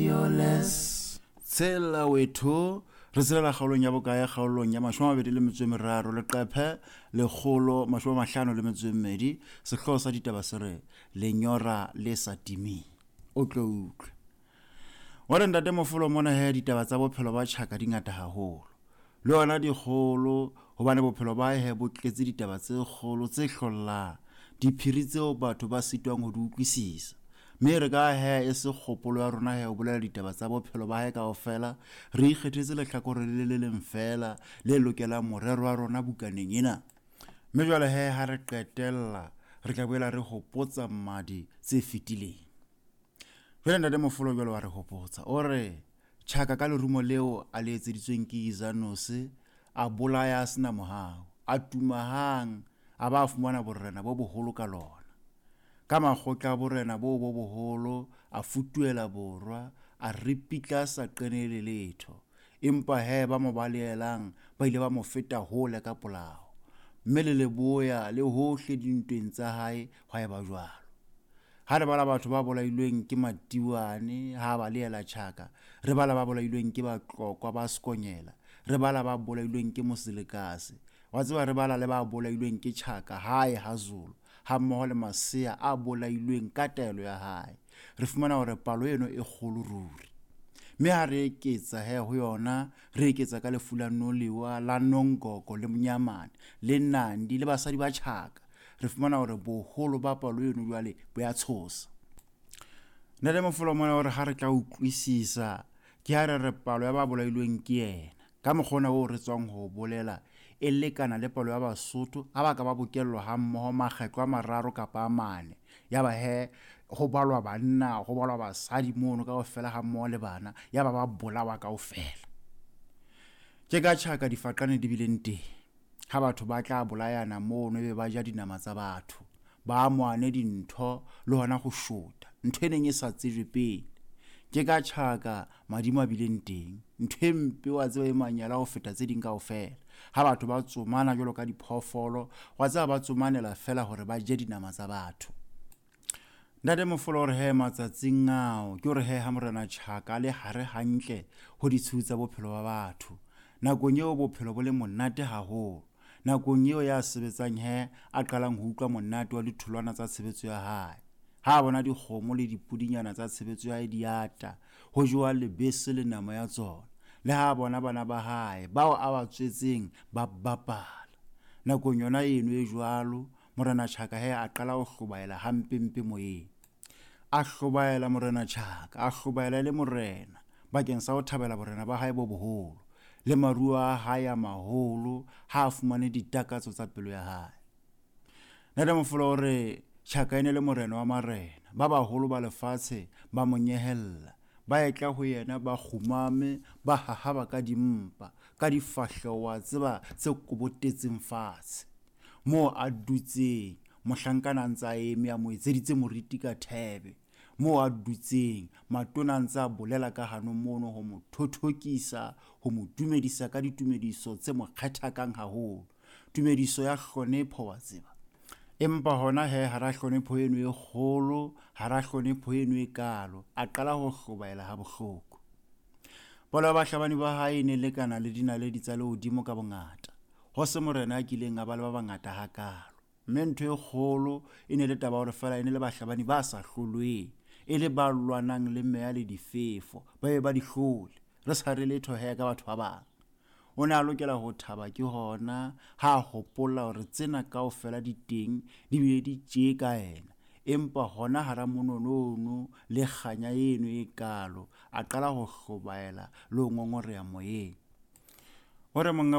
Fearless. Tshela wethu re tshelela kgaolong ya bokae kgaolong ya 23 leqephe 152 sehlooho sa ditaba se re lenyora le sa timeng o tlo utlwe wa re ntate Mofolo mona he ditaba tsa bophelo ba Tjhaka di ngata haholo le yona dikgolo hobane bophelo ba he bo tletse ditaba tse kgolo tse hlollang diphiri tseo batho ba sitwang ho di utlwisisa mme re ka he e se kgopolo ya rona he ho bolela ditaba tsa bophelo ba hae kaofela re ikgethetse lehlakore le le leng fela le lokelang morero wa rona bukaneng ena mme jwale he ha re qetella re tla boela re hopotsa mmadi tse fetileng. Jwale ntate Mofolo jwale wa re hopotsa o re Tjhaka ka lerumo leo a le etseditsweng ke Izanose a bolaya a sena mohau, a tuma hang a ba a fumana borena bo boholo ka lona. Ka makgotla a borena boo bo boholo a futuhela borwa, a ripitla a sa qenehele letho. Empa he ba mo balehelang ba ile ba mo feta hole ka polao. Mme le leboya le hohle dintweng tsa hae hwa eba jwalo. Ha re bala batho ba bolailweng ke Matiwane ha ba balehela Tjhaka, re bala ba bolailweng ke Batlokwa ba Sekonyela, re bala ba bolailweng ke Moselekase, wa tseba re bala le ba bolailweng ke Tjhaka hae ha Zulu, hammoho le masea a bolailweng ka taelo ya hae. Re fumana hore palo eno e kgolo ruri. Mme ha re eketsa he ho yona, re eketsa ka lefu la Noliwa, la Nongogo le Monyamane, le Nandi le basadi ba Tjhaka. Re fumana hore boholo ba palo eno jwale bo ya tshosa. Ntate Mofolo mona hore ha re tla utlwisisa ke ha re re palo ya ba bolailweng ke yena ka mokgwa ona oo re tswang ho bolela e lekana le palo ya Basotho ha ba ka ba bokellwa hammoho makgetlo a mararo kapa a mane. Ya ba he ho balwa banna, ho balwa basadi mono kaofela hammoho le bana, ya ba ba bolawa kaofela. Ke ka Tjhaka difaqane di bileng teng. Ha batho ba tla bolayana mono ebe ba ja dinama tsa batho, ba amohane dintho le hona ho shota, ntho e neng e sa tsejwe pele. Ke ka Tjhaka madimo a bileng teng, ntho e mpe wa tseba e manyala ho feta tse ding kaofela. Ha batho ba tsomana jwalo ka diphoofolo, wa tseba ba tsomanela fela hore ba je dinama tsa batho. Ntate Mofolo o re he matsatsing ao ke hore he ha Morena Tjhaka a le hare hantle ho ditshiu tsa bophelo ba batho. Nakong eo bophelo bo le monate haholo. Nakong eo ya sebetsang he a qalang ho utlwa monate wa ditholwana tsa tshebetso ya hae. Ha a bona dikgomo le dipudinyana tsa tshebetso ya hae di ata, ho jewa lebese le nama ya tsona. Le ha a bona bana ba hae bao a ba tswetseng ba bapala. Nakong yona eno e jwalo, Morena Tjhaka he a qala ho hlobaela hampempe moyeng. A hlobaela Morena Tjhaka, a hlobaela e le morena bakeng sa ho thabela borena ba hae bo boholo le maruo a hae a maholo ha a fumane ditakatso tsa pelo ya hae. Ntate Mofolo o re Tjhaka e ne le morena wa marena, ba baholo ba lefatshe ba mo nyehella, ba etla ho yena ba kgumame, ba hahaba ka dimpa, ka difahleho wa tseba tse kobotetseng fatshe. Moo a dutseng, mohlankana a ntse a eme a mo etseditse moriti ka thebe. Moo a dutseng, matona a ntse a bolela ka hanong mono ho mo thothokisa, ho mo dumedisa ka ditumediso tse mo kgethakang haholo. Tumediso ya hlonepho wa tseba. Empa hona he hara hlonepho eno e kgolo, hara hlonepho eno e kalo, a qala ho hlobaela ha bohloko. Palo ya bahlabani ba hae e ne lekana le dinaledi tsa lehodimo ka bongata. Ho se morena a kileng a ba le ba bangata hakaalo. Mme ntho e kgolo e ne le taba hore feela e ne le bahlabani ba sa hlolweng, e le ba lwanang le meya le difefo, ba be ba di hlole. Re sa re letho he ka batho ba bang. O ne a lokela ho thaba ke hona ha a hopola hore tsena kaofela di teng di bile di tjee ka yena. Empa hona hara monono ono le kganya eno e kalo, a qala ho hlobaela le ho ngongoreha moyeng. O re monga